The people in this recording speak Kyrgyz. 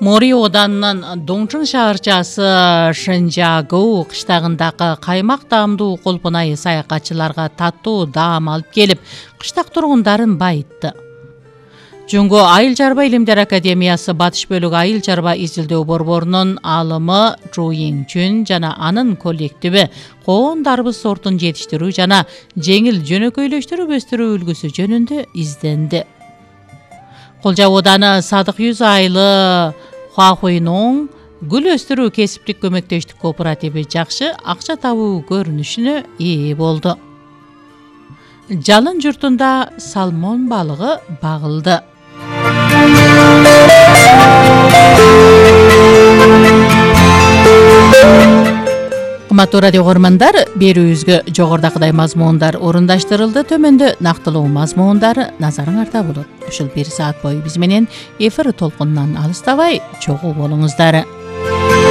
Мори оданынын Доңчун шаарчасы Шэнжагоу кыштагындагы каймак даамдуу колпунайы саякатчыларга таттуу даам алып келип, кыштак тургундарын байытты. Жөнгө Айыл чарба илимдер академиясы батыш бөлүгү айыл чарба изилдөө борборунун алымы Чу Йиңчүн жана анын коллективи коон дарбыз сортун жетиштирүү жана жеңил жөнөкөйлөштүрүп өстүрүү үлгүсү жөнүндө изденди. Кол Жабуу ооданы Садык Юз айылы Хуахуйнун гүл өстүрүү кесиптик көмөктөштүк кооперативи жакшы акча табуу көрүнүшүнө ээ болду. Жалын журтунда салмон балыгы багылды. Кымбаттуу радио көрөрмандар, берүүбүзгө жогорудагыдай мазмундар орундаштырылды. Төмөндө нактылуу мазмундар назарыңарда болот. Ушул 1 саат бою биз менен эфир толкунунан алыстабай чогуу болуңуздар.